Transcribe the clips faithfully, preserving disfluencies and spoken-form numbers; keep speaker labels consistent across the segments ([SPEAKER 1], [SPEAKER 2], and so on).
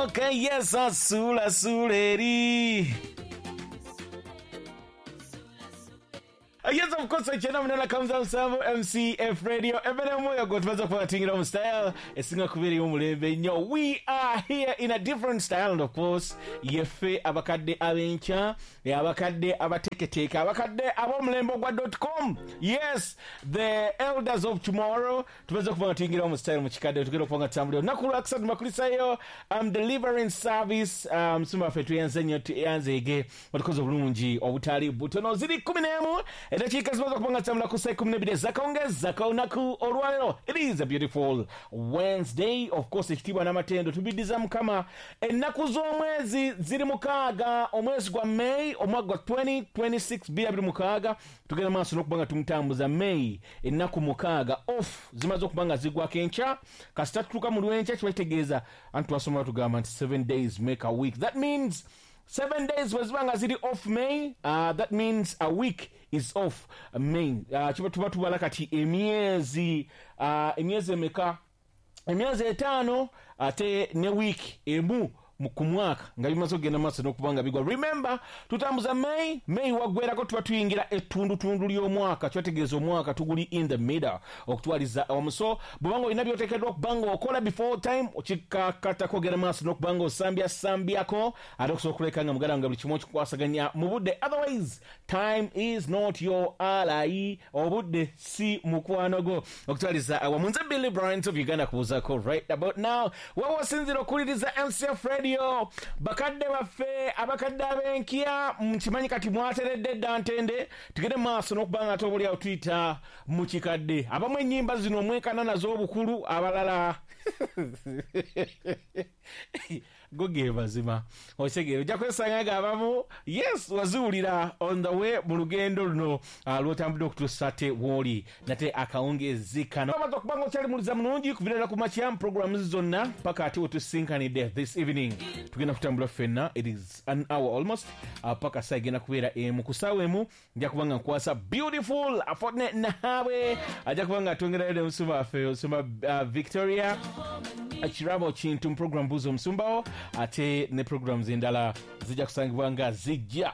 [SPEAKER 1] Okay, yes, asula suleri. Yes, of course, chena mnana kamza msambo M C F Radio. Ebene moyo gotumaza kwa tingira mu style. Esinga kubiri omulembe nnyo. We are here in a different style, and of course, yefe abakadde abencha, abakadde abateketeka, abakadde abomulembe gwa dot com. Yes, the elders of tomorrow. Tumaza kuba tingira mu style mu kikadde tugenda okuba tambulira. Naku lwa makulisayo I'm delivering service um sumba fetu yanze nnyo yanzege. Watukoze obulungi obutali butono ziri kumi n'emu. Edakika zimaze kupanga tamla ku saa kumi n'ebiri ez'akawungeezi ak'olunaku olwaleero. It is a beautiful Wednesday. Of course, ekitiibwa n'amatendo tubiddiza Mukama. Ennaku z'omwezi ziri mukaaga, omwezi gwa May, omwaka gwa twenty twenty-six, bbiri abiri mukaaga. Tugenda maaso n'okuba nga tumutambuza May, ennaku mukaaga off zimaze okuba nga zigwako enkya. Kasita tutuuka mu lw'enkya kiba kitegeeza anti twasoma tugamba nti seven days make a week. That means seven days bwe ziba nga ziri off May, uh, that means a week is off May. Uh, kiba tuba tubala kati emyezi uh, emyezi emeka emyezi etaano ate ne week emu ku mwaka nga bimaze okugenda maaso n'okuba nga bigwa. Remember, tutambuza May, May waggwerako tuba tuyingira ettundutundu ly'omwaka, kyategeeza omwaka tuguli in the middle okutwaliza awamu. So bw'obanga olina by'oteekeddwa okuba nga okola before time, okikakatako ogenda maaso n'okuba nga osambyasambyako ate okusobola okuleka nga muganda nga buli kimu okikwasaganya mu budde. Otherwise, time is not your ally. Obudde si mukwano gwo. Okutwaliza awamu. Nze Billy Bryant of Uganda kubuuzaako right about now. Wewe osinziira okuwuliriza M C F Radio. Yo, bakadde baffe abakadde ab'enkya nkimanyi kati mwateredde dda ntende tugende maaso n'okuba nga ate obuli awo tuyita mu kikadde. Abamu ennyimba zino omwenkana nazo obukulu, abalala go ge mazima otegeera ojja kwesanga nga abamu yes waziwulira on the way mu lugendo luno uh, lw'otambudde okutuusa te w'oli nate akawungeezi kano. Amaze okuba nga okyali muliza mulungi kuviirira ku makya mu programs zonna paka ate we tusinkanidde this evening. Tugenda kutambula ffenna, it is an hour almost uh, paka saa egenda kubeera emu. Ku ssaawa emu nja kuba nga nkwasa beautiful Fortnite Nahabwe ajja kuba nga atwongerayo ne musumba waffe omusumba uh, Victoria Kirabo Kintu mu program Buuza Omusumbawo, ate ne programs endala zijja kusangibwa nga zijja.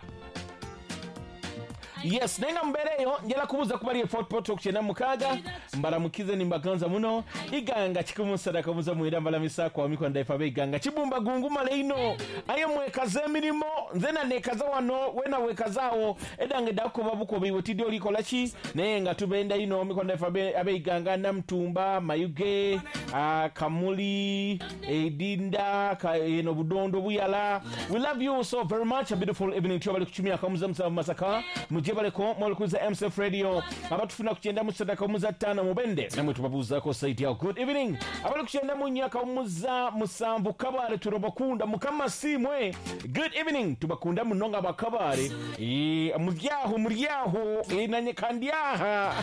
[SPEAKER 1] Yes, naye nga mubeereyo njala kubuuza ku bali e Fort Portal ku kyenda mukaaga mbalamukize nimbaganza muno iganga kikumu sadaka muza mwenda mbalamisaako amikwa ndaifa ab'eiganga kibumba gungumala ino aye mwekaza emirimu nze na neekaza wano wena weekazaawo edda nga eddakukoba bukoba iwe tidde olikola ki naye nga tubenda ino amikwa ndaifa ab'eiganga Namutumba, Mayuge, uh, Kamuli, Edinda, eno Budondo, Buyala. We love you so very much. A beautiful evening to abali kuchumia akamuza musanvu Masaka muje baleko mwalikuza M C F Radio abatufuna kuchenda mu sadaka muza ttaano mubende namwe tubabuuzaako site yao. Good evening abali kuchenda mu nyaka muza musanvu Kabale turabakunda Mukama simwe. Good evening tubakunda munonga bakabale e, muryaho muryaho e, nanye kandyaha.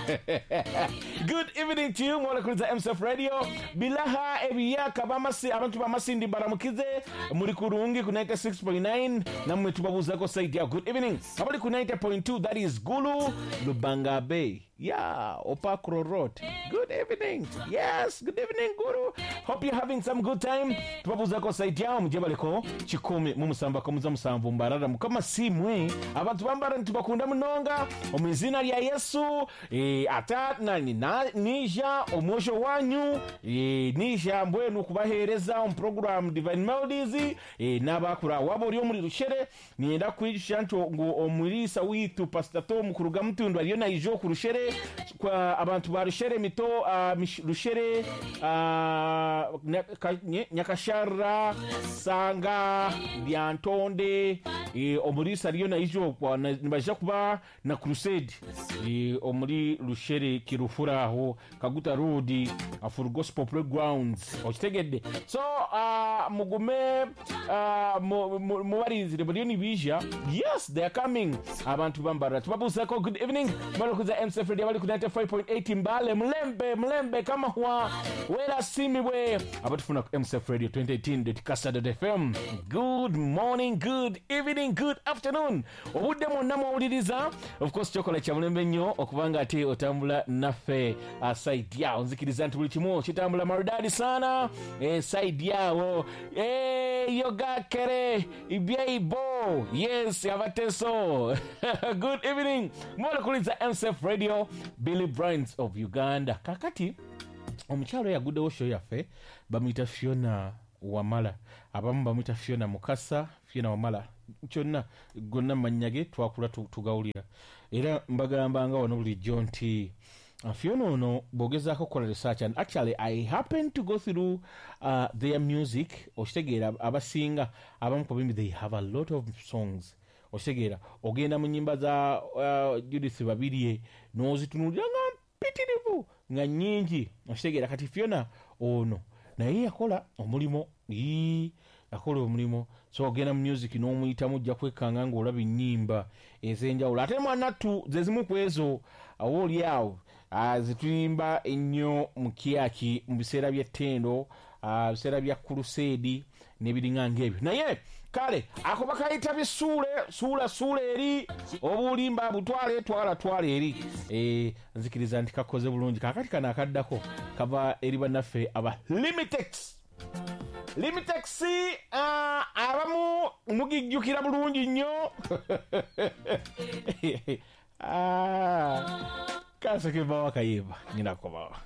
[SPEAKER 1] Good evening to you mwalikuza M C F Radio bilaha ebiyaka bamasi abantu bamasindi baramukize muri kurungi ku ninety-six point nine namwe tubabuuzaako site yao. Good evening abali ku ninety point two, that is Gulu Lubanga Bay. Yeah, Opakro Road. Good evening. Yes, good evening, Guru. Hope you're having some good time. Tubabuuzako site yao mujebaleko kikumi mu musamba komuza musanvu mbarara Mukama simwe abantu bambara ntibakunda munonga omu izina lya Yesu e, ata nani na, nija omwosho wanyu e, nija mbwenu kubaheereza omu program Divine Melodies e, n'abakura wabo ori omuri Rushere niyenda kwigisha nti ngu omuriisa witu Pastor Tom kuruga Mutundu ariyo naija ku Rushere kwa abantu ba Rushere mito uh, Rushere uh, Nyakashara Sanga Byantonde e, omuriisa ariyo naija nibaija kuba na crusade e, omuri Rushere Kirufura aho Kaguta Road for Gospel Playgrounds okitegedde. So uh, mugume uh, mubarinzire bariyo nibija. Yes, they are coming. Abantu bambara tubabuuzako. Good evening mwalikuza M C F Radio abali ku ninety-five point eight Mbale, Mulembe, Mulembe Kamahwa, Wera Simibwe, abatufuna ku M S F Radio twenty eighteen dot kasa dot F M. Good morning, good evening, good afternoon. Obudde mwonna mwawuliriza. Of course kyokola kya mulembe nnyo okubanga ate otambula naffe uh, side yawo. Nzikiriza nti buli kimu kitambula maridadi sana eh, side yawo. Eh, yogakere ibyeibo. Yes, abateso. Good evening. Mwala kuliza M S F Radio, Billy Brands of Uganda. Kakati omukyalo yaguddewo show yaffe bamuyita Fiona Wamala, abamu bamuyita Fiona Mukasa, Fiona Wamala, kyonna gonna mannya ge twakula tugawulira. Era mbagambanga wano bulijjo nti Fiona ono bw'ogezaako okukola research, and actually I happen to go through uh, their music, okitegeera abasinga abamu ku bimbi they have a lot of songs. Okitegeera ogenda mu nnyimba za uh, Judith Babirye n'ozitunuulira nga mpitirivu nga nnyingi. Okitegeera kati Fiona ono naye yakola omulimu, ii yakola omulimu. So ogenda mu music n'omuyitamu ojja kwekanga ng'olaba ennyimba ez'enjawulo. Ate mwanattu ze zimu ku ezo awo oli awo zituyimba ennyo mu kyaki mu biseera by'ettendo, biseera bya kuluseedi n'ebiringa ng'ebyo. Naye kale ako bakayita bisuule, suula suula eri, obulimba butwale twala twala eri. Eh, nzikiriza nti kakoze bulungi. Kakati kano akaddako kava eri bannaffe aba Limitex. Limitex uh, abamu mugijjukira bulungi nnyo. Ah, kaseke bawa kayimba nyina kobawa.